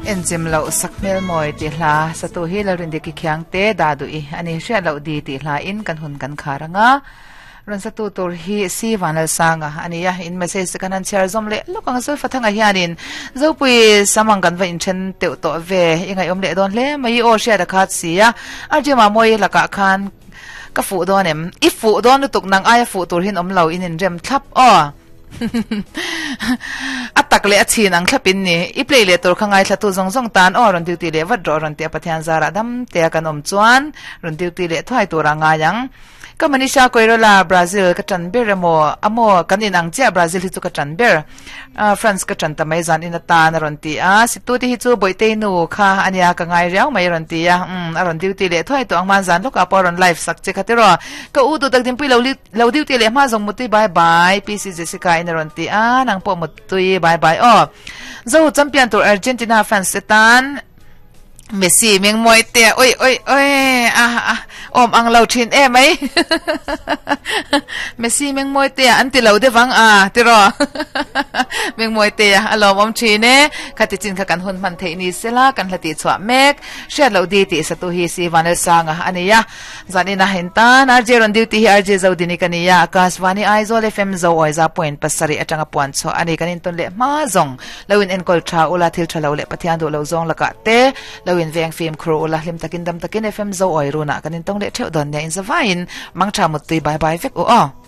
Enchim loh sakhmel mawi tih hla satu hi Lalrindiki Khiangte dah duh i a ni. Hriat loh di tih hla in kan hun kan khar ang a. Rawn satu tur hi Si Vanlalsanga a ni a. In message te kan han chhiar zawm leh lawk ang a. Zulfathanga hianin Zopui sam ang kan va inthen teuh tawh ve. I ngaihawm leh dawn hle mai i aw hriat a khat si a. RJ Mamawii lakah khan ka fuh dawn em? I fuh dawn lutuk nang aia fuh tur hin awm lo in inrem thlap aw. A tak leh a chhin ang thlap in ni. I play leh tur kha ngaithla tu zawng zawng tan aw rawn duty leh vat rawh rawn ti a Pathian zarah dam tea kan awm chuan rawn duty leh thuai tur a ngai ang. Ka Manisha Koirola Brazil ka tan ber emaw amaw kan in ang chiah Brazil hi chu ka tan ber France ka tan ta mai zan in atan a rawn ti a situ te hi chu Bawihtei nu kha ania ka ngai riau mai a rawn ti a umm a rawn duty leh thuai tawh ang hman zan lawkah pawh a rawn live sak che kha tiraw ka u duh tak dinpui lo Lo duty leh hma zawng mutui bye bye PC Jessica in a rawn ti a nang pawh mutui bye bye aw Zo champion tur Argentina fans te tan Messi meng mawi te oi oi oi a a awm ang lo thin e mai Messi meng mawi te an ti lo deuh ang a tiraw meng mawi te a lawm awm thin e khati chin kha kan hun hman theih ni sela kan hla tih chhuah mek hriat loh di tih satu hi si Vanlalsanga a ni a. Zanin a hen tan RJ rawn duty hi RJ Zodini ka ni a, Akashvani Aizawl FM Zo Awiza point pasarih atanga puan chhuah a ni. Kan intawn leh hma zawng lo in enkawl tha ula, thil tha lo leh Pathian duh lo zawng lakah te lo in veng fimkhur ula, hlim takin dam takin FM Zo Awi runah kan intawng leh theuh dawn nia inzavaiin mangtha muttui bye bye vek u aw.